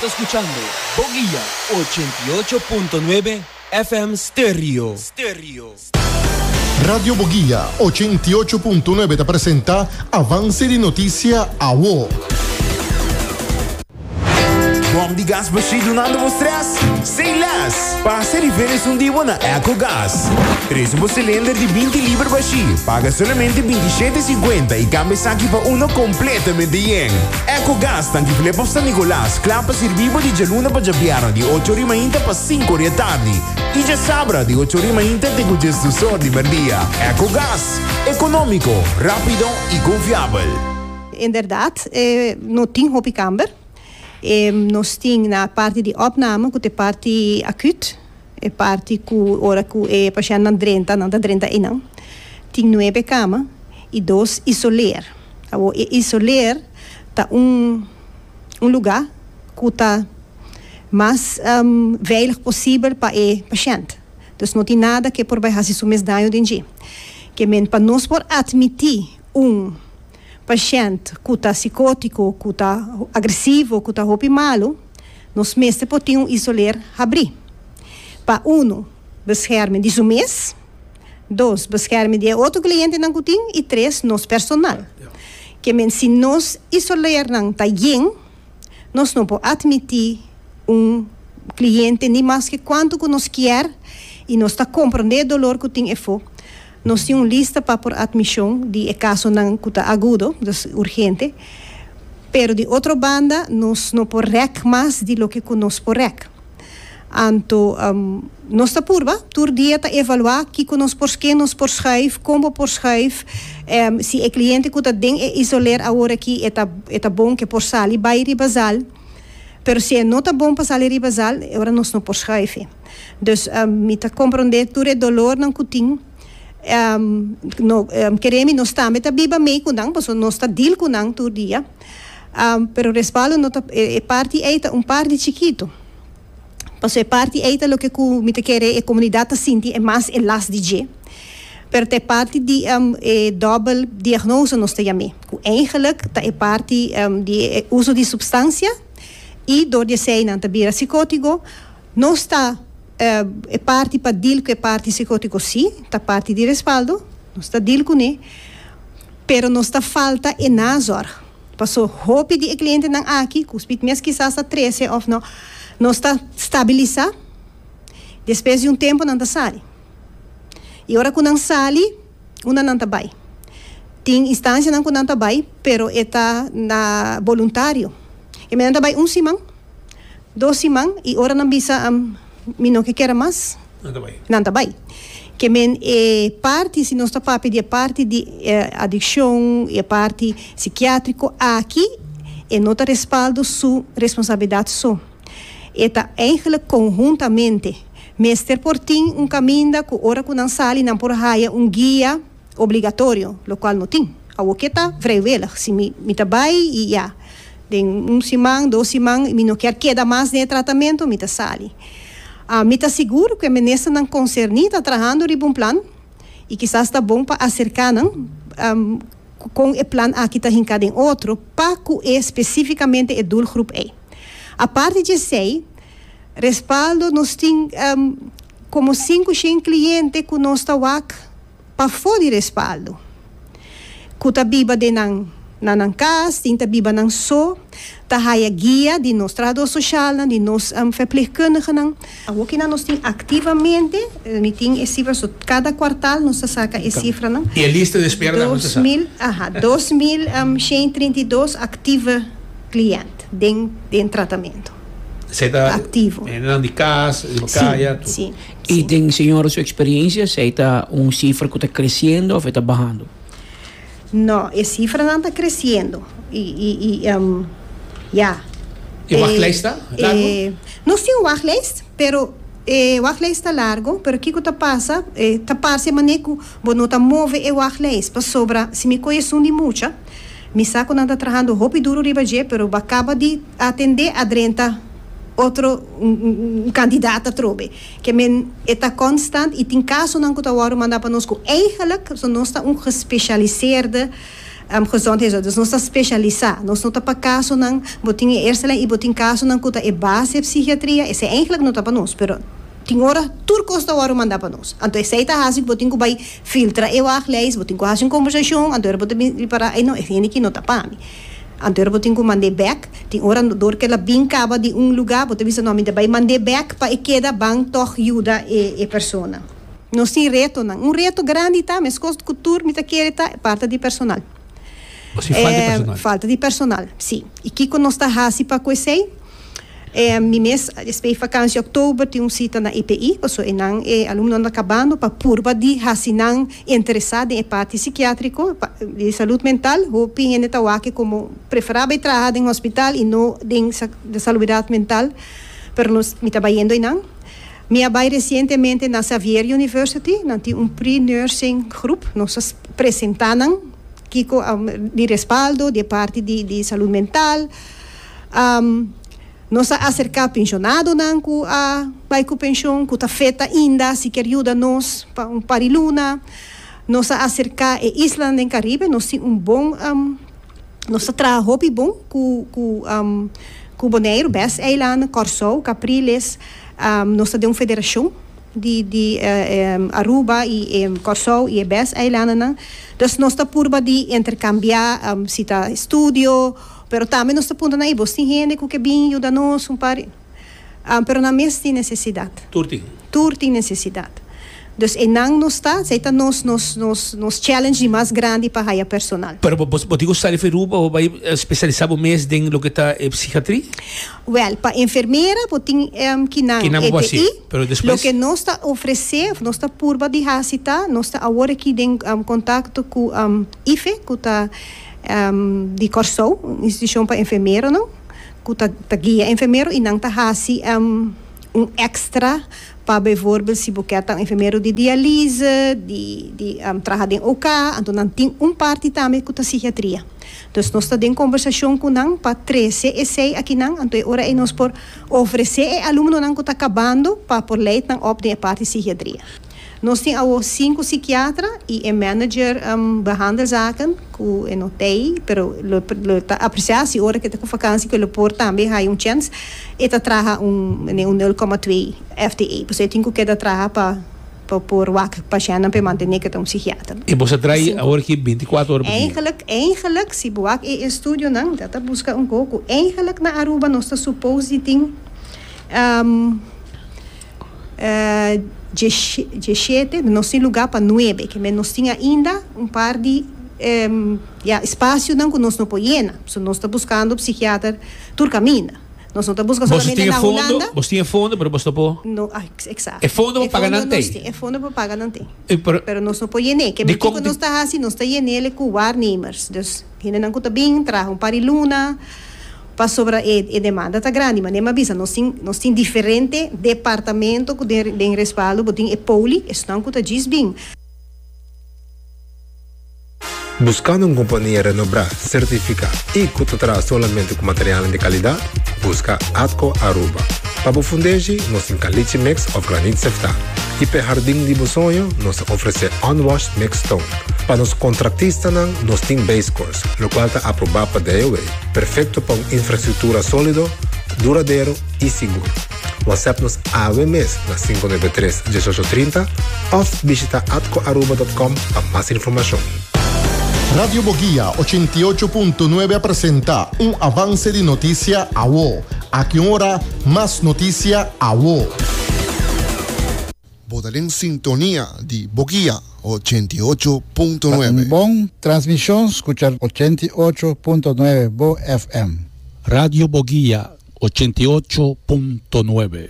ta skuchando Boguia 88.9 FM Stereo. Radio Boguia 88.9 ta presenta Avance di Noticia Awo. Bom di gas bashí dunando bo stress? Say less! Pasa riba esun di bo na Ecogas. Trese bo cilinder di 20 liber bashí, paga solamente 27,50 y cambia esaki pa uno completamente yen. Ecogas tanki Flip of San Nicolas, kla pa sirbi bo di djaluna pa djabièrnè di ocho ori mainta pa sinku ori atardi y djasabra di ocho ori mainta te ku djesdos or di merdia. Ecogas, economico, rapido y confiabel. Inderdaad, no tin hopi kamber. Nos tin na parti di opname ku ta e parti akut, e parti ku ora ku e pashèntnan drenta, nan ta drenta einan. Tin nuebe kama i dos isoleer. Awor e isoleer ta un un lugá ku ta mas veilig posibel pa e pashènt. Dus no tin nada ku e por bai hasi su mes daño den dje. Ke men pa nos por atmití un pashènt ku ta sikótiko, ku ta agresivo, ku ta hopi malu, nos mester por tin un isoler habrí. Pa unu, bescherming di su mes, dos, bescherming di e otro klientenan ku tin i tres, nos personal. Ke men si nos isolernan ta yen, nos no por atmití un kliente ni maske kuantu ku nos kier i nos ta komprondé e dolor ku tin efó. Nos tin un lista pa por atmishon di e kasonan ku ta agudo, dus urgente, pero di otro banda nos no por rèk mas di loke ku nos por rèk. Anto nos ta purba, tur dia ta evaluá kiko nos por ken nos por schuif, kon bo por schuif, si e kliente ku ta den e isoler awor aki e ta e ta bon ke por sali bai riba zal, pero si e no ta bon pa sali riba zal, e ora nos no por schuif e. Dus mi ta komprondé tur e dolornan ku tin. No, kere mi nos tambe ta biba mei ku nan, pasobra nos ta deal ku nan tur dia. Pero respaldo no ta, e parti ei ta un parti chikitu. Pasobra e parti ei ta loke ku mi ta kere e komunidat ta sinti e mas e las di dje. Pero ta e parti di e dòbel diagnose nos ta yam'é, ku eigenlik ta e parti di e uso di supstansia i dor di esei nan ta bira sikótigo. Nos ta e parti pa deal ku e parti sikótiko sí, ta parti di respaldo, nos ta deal kuné, pero nos ta falta e nazorg. Paso hopi di e klientenan aki, ku spit mes kisas ta trese òf no, nos ta stabilisá, despues di un tempu nan ta sali. I ora ku nan sali, unda nan ta bai? Tin instansianan ku nan ta bai, pero e ta na boluntario. E nan ta bai un siman. Dos siman y ora nan bisa mi no ke kere mas, nan ta bay. Ke men e parti, si nos ta papia di e parti di adiccion y e parti psikiatrico aki, e no ta respaldo su responsabilidad so. E ta eigenlijk conhuntamente. Mester por tin un caminda cu ora cu nan sali nan por haya un guia. Obligatorio, locual no tin. Awoke ta vrijwillig. Si mi mi ta bay y ya, den un siman, dos siman, mi no kier keda mas den e tratamento, mi ta sali. Mi ta sigur cu e ministernan concerni ta trahando riba un plan y kisas ta bon pa acerca nan con e plan aki ta hinca den otro pa cu e specificamente e doelgroep ey. Aparte di esey, Respaldo, nos tin como sinku shen cliente cu nos ta wak pafó di Respaldo, cu ta biba den nan na nan cas, tin ta biba nan so, ta haya guia di nos trahador socialnan, di nos verpleegkundigenan. Awokinan nos tin activamente, mi tin e cifra, so cada cuartal nos ta saca e cifranan. Y e lista di espera tambe nos ta sa. Aha, 2132 active client den den tratamento. Esei ta Activo. hendenan di cas, riba caya, tur. Sí, I sí. den señora su experiencia esei ta un cifra cu ta creciendo of e ta bahando? No, e cifranan ta creciendo. I, i, i, ya. E wachtlijst ta largo? Nos tin un wachtlijst, pero e wachtlijst ta largo, pero kico ta pasa, e ta parce mane cu bo no ta move e wachtlijst, pasobra si mi coge esun di mucha, Mi sa ku nan ta trahando hopi duru riba dje, pero bo a kaba di atendé a drenta otro un kandidat atrobe. Ke men e ta konstant i tin kasonan ku ta wòrdu mandá pa nos ku eigenlijk so nos ta un gespecialiseerde Gezondheidszorg. Dus nos ta spesialisá. Nos no ta pa kasonan, bo tin e eerste lijn i bo tin kasonan ku ta e base psikiatria, esei eigenlijk no ta pa nos, pero tin ora tur kos ta wòrdu mandá pa nos. Anto esei ta hasi ku bo tin ku bai filtra e wachtlijst, bo tin ku hasi un kombersashon, anto ora bo ta bin ripará, ei no, e hende aki no ta pa mi. Anto ora bo tin ku mand'é bèk, tin ora dor ku el a bin kaba di un lugá, bo ta bisa no, mi ta bai mand'é bèk pa e keda ban tòg yuda e persona. Nos tin retonan. Un reto grandi ta, meskos ku tur mi ta kere ta, parta di personal. O si falta di personal. Falta di personal, si. I kiko nos ta hasi pa ku esei? Mi mes espe vakansi oktober tin un sita na EPI, pasobra einan e alumnonan ta kabando pa purba di hasi nan interesá den e parti sikiatriko, di salud mental. Hopi hende ta wak komo preferá bai traha den hospital i no den salubridat mental, pero nos mi ta bayendo einan. Mi a bai resientemente na Xavier University, nan tin un pre-nursing groep, nos a presenta nan kiko di respaldo di e parti di salud mental. Nos a aserka penshonadonan ku a bai ku penshon, ku ta fet ainda, si kier yuda nos pa un par di luna. Nos a aserka e islanan den Caribe, nos tin un bon, nos ta traha hopi bon ku ku Boneiru, bes eilanden, Kòrsou, Capriles. Nos ta den un federashon di di Aruba i Kòrsou i e bes eilandennan. Dus nos ta purba di interkambiá si ta estudio, pero tambe nos ta puntra nan, ey bos tin hende ku ke bin yuda nos un par? Pero nan mes tin nesesidat. Tur tin. Tur tin nesesidat. Dus einan nos ta, esei ta nos nos nos nos challenge di mas grandi pa haya personal. Pero bo bo tin ku sali for Aruba bo bai spesialisá bo mes den loke ta e psikiatri? Wèl, pa enfermera bo tin kinan Kinan bo por hasi, EPI. pero despues? Loke nos ta ofresé òf nos ta purba di hasi ta, nos ta awor aki den kontakto ku IFE ku ta di Kòrsou, un institushon pa enfermeronan ku ta ta guia enfermero i nan ta hasi un èkstra Pa bijvoorbeeld si bo kier ta un enfermero di dialyse, di di traha den OK, anto nan tin un parti tambe ku ta psikiatria. Dus nos ta den kombersashon ku nan pa trese esei akinan, anto e ora ei nos por ofresé e alumnonan ku ta kabando pa por leid nan op den e parti psikiatria. Nos tin awo sinku psikiatra i e manager behandelzaken ku e no t'ei, pero lo lo ta apresiá si ora ku e ta ku vakansi ku e lo por tambe haya un chèns. E ta traha un un nul koma twee FTE, pasobra e tin ku keda traha pa pa por wak pashèntnan pa e mantené ku e ta un psikiater. E bo sa tra'i awor aki bintikuater ora pa dia? Eigenlijk, eigenlijk, si bo wak e estudionan, mi ta buska un koko, eigenlijk na Aruba nos ta supos di tin Djeshete, nos tin lugá pa nuebe, ke men nos tin ainda un par di ya espasionan ku nos no por yena. So nos ta buskando psikiater tur kaminda. Nos no ta buska solamente na Hulanda. Bos tin e fondo, pero bos no por. No, eksakto. E fondo pa paga nan tei. E fondo pa paga nan tei. Pero nos no por yen'é. Ke men kiko nos ta hasi, nos ta yen'é ku waarnemers. Dus hendenan ku ta bin traha un par di luna. Pasobra e e demanda ta grandi. Manera mi a bisa, nos tin nos tin diferente departamento ku den den respaldo. Bo tin e poli, esnan ku ta djis bin. Buskando un kompania renobrá, sertifiká i ku ta traha solamente ku materialnan di kalidat? Buska Atco Aruba. Pa bo fundeshi, nos tin caliche mix òf granit seftá. I p'e hardin di bo soño, nos ta ofresé unwashed mixed stone. Pa nos kontraktistanan, nos tin base course, lokual ta aprobá pa DOW. Perfecto pa un infrastructura solido, duradero y sigur. WhatsApp nos awe mes na 593 1830 of bishita atcoaruba.com pa mas informacion. Radio Boguia 88.9 a presenta un avance di noticia awo. Aki un ora, mas noticia awo. Bo ta den sintonia di Boguia 88.9. Pa un bon transmision scucha 88.9 Bo FM. Radio Boguia 88.9.